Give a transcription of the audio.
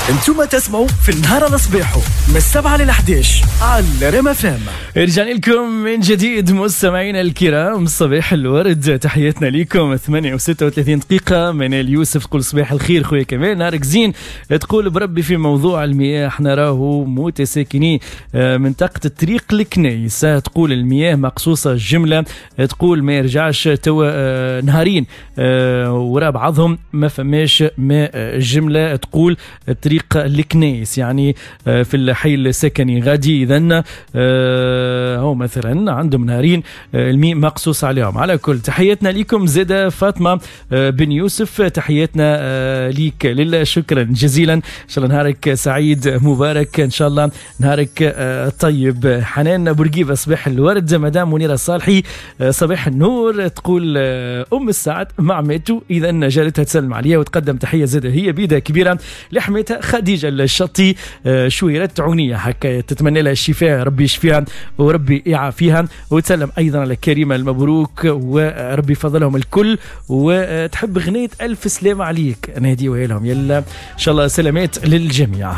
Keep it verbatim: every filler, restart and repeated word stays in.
انتم تسمعوا في النهار على صباحه من السبعة للحداش على ريم اف ام. رجعنا لكم من جديد مستمعينا الكرام، صباح الورد، تحياتنا لكم. ثمانية وستة وثلاثين دقيقة. منال يوسف تقول صباح الخير خويا كمال، نهارك زين. تقول بربي في موضوع المياه احنا راهو متساكني منطقة الطريق الكنيسة، تقول المياه مقصوصة الجملة، تقول ما يرجعش توا نهارين وراء بعضهم ما فماش ماء جملة، تقول الطريق الكنيس يعني في الحي السكني غادي. إذن هو مثلا عندهم نهارين الماء مقصوص عليهم. على كل تحياتنا لكم زادة فاطمة بن يوسف، تحياتنا ليك لله، شكرا جزيلا، إن شاء الله نهارك سعيد مبارك، إن شاء الله نهارك طيب. حنان بورقيبة صباح الورد. مدام منيرة صالحي صباح النور، تقول أم السعد مع ماتو، إذا جارتها تسلم عليها وتقدم تحية زادة هي بيدها كبيرة لحمتها خديجة الشطي شويرة عونية، هكا تتمنى لها الشفاء، ربي يشفيها وربي يعافيها، وتسلم أيضا على كريمة المبروك وربي يفضلهم الكل، وتحب غنية ألف سلامة عليك نهديوها لهم. يلا إن شاء الله سلامات للجميع.